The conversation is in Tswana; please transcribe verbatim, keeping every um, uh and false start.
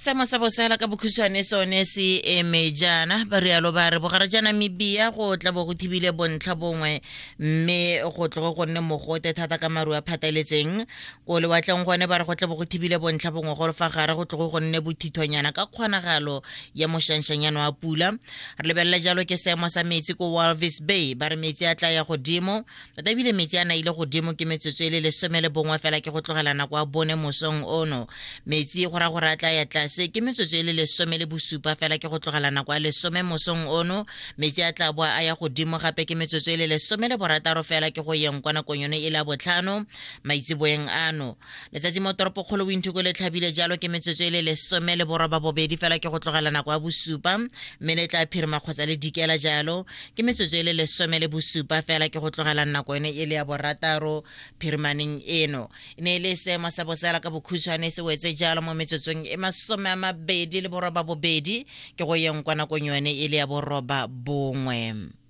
Seemo sa bosela ka bokhutshwane sone se eme jaana. Ba rialo ba re bogare ja Namibia go tla bo go thibile bontlha bongwe, mme go tlogo go nne mogote thata ka maru a phataletseng. Ko lewatleng gone ba re go tla bo go thibile bontlha bongwe, gore fa gare go tlogo go nne bothithonyana ka kgonagalo ya mošanšanyana wa pula. Re lebelela jalo ke seemo sa metsi ko Walvis Bay, ba re metsi a tla ya godimo tota, ebile metsi a naile godimo ke metsotso e le lesome le bongwe fela ke go tlogela nako ya bone mosong ono. Metsi go raya gore a tla ya tlase ke metsotso e le lesome le bosupa fela ke go tlogela nako ya lesome mosong ono. Metsi a tla boa a ya godimo gape ke metsotso e le lesome le borataro fela ke go yeng kwa nakong yone e le ya botlhano maitseboeng ano. Letsatsi mo toropokgolo Windhoek le tlhabile jalo ke metsotso e le lesome le boroba bobedi fela ke go tlogela nako ya bosupa, mme le tla phirima kgotsa le dikela jalo ke metsotso e le lesome le bosupa fela ke go tlogela nako yone e le ya borataro phirimaneng eno. E ne e le seemo sa bosela ka bokhutshwane se wetse jalo mo metsotsong e masome a mabedi le boroba bobedi ke go yeng kwa nakong yone e le ya boroba bongwe.